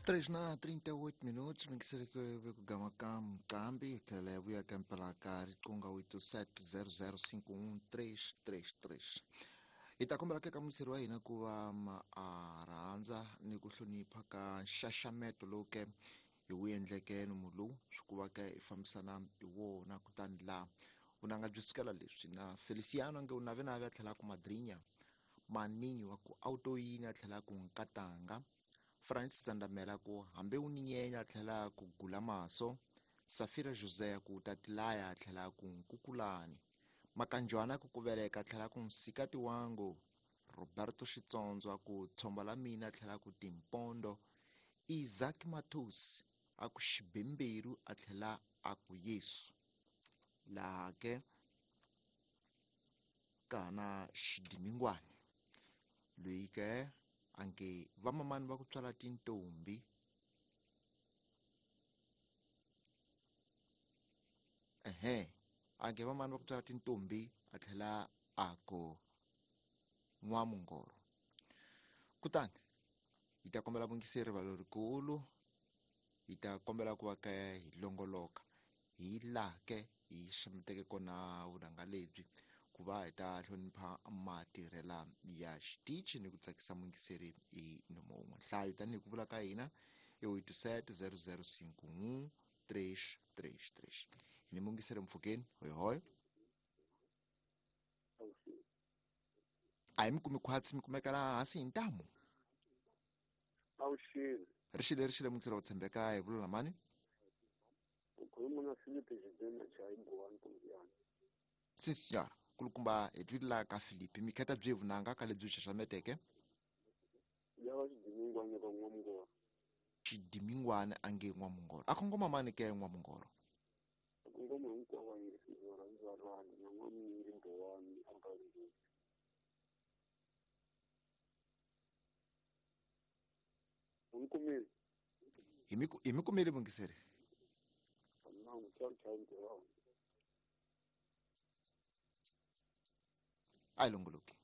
3 na 38 minutos mingiseri kugama ka mqambi hi tlhela ya vuya ka mpela ka riqingho 87005133. Hi ta kombela ka muyingiseri wa hina ku va ma a rhandza ni ku hlonipha ka nxaxameto lowu ke hi wu endleke nomu lowu swi ku va ke hi fambisana hi wona. Kutani laha vunanga byi sukela leswi na Feliciano nge u navenave a tlhela ku madrinya maninyi wa ku autoyini a tlhela ku nkatanga Francis Sandamela ku hambi u ni nyenya a tlhela ku gula maso, Safira José ku tatilaya a tlhela ku nkukulani, Makanjwana ku kuveleka a tlhela ku nsikati wangu, Roberto Xitsondzo a ku tshomba la mina a tlhela ku timpondo, Isaac Mathus a ku xibemberu a tlhela a ku Yesu. Laha ke kana xidimingwani loyi ke anke vamamani va ku tswala tintombi ehe anke vamamani va ku tswala tintombi a tlhela a ku n'wamungoro. Kutani hi ta kombela vungiseri rivalo rikulu, hi ta kombela ku va ka hi longoloka hi laha ke hi xameteke kona vunanga lebyi ku va hi ta hlonipha matirhela ya xitichi ni ku tsakisa muyingiseri hi nomo wun'we. Nhlayo tanihi ku vula ka hina i 870051 333. Hi ni muyingiseri mpfhukeni. Hoyihoyi, a hi mi kumi khwatsi, mi kumeka laha hansi hi ntamu. Awuxile. Ri xile muyingiseri wo tshembeka, hi vula na mani? U khuluma na Philip Xidena Chayi Buwani Kumbiyani. Sim senhora, kulukumba hi twile laha ka Philip mi kheta byi vunanga ka lebyi xaxameteke. Ya va xidimingwana ka n'wamungoro. Xidimingwana a nge n'wamungoro a khongoma mani ke n'wamungoro? Kongoma hinkwavo va yingisile varhandzi va rhandi na n'wamnyingi Buwani a Balindini. U ni kumile? Hi mi kumile mungiseri. Nangu ciao ciao ntirho wa A yi longoloki.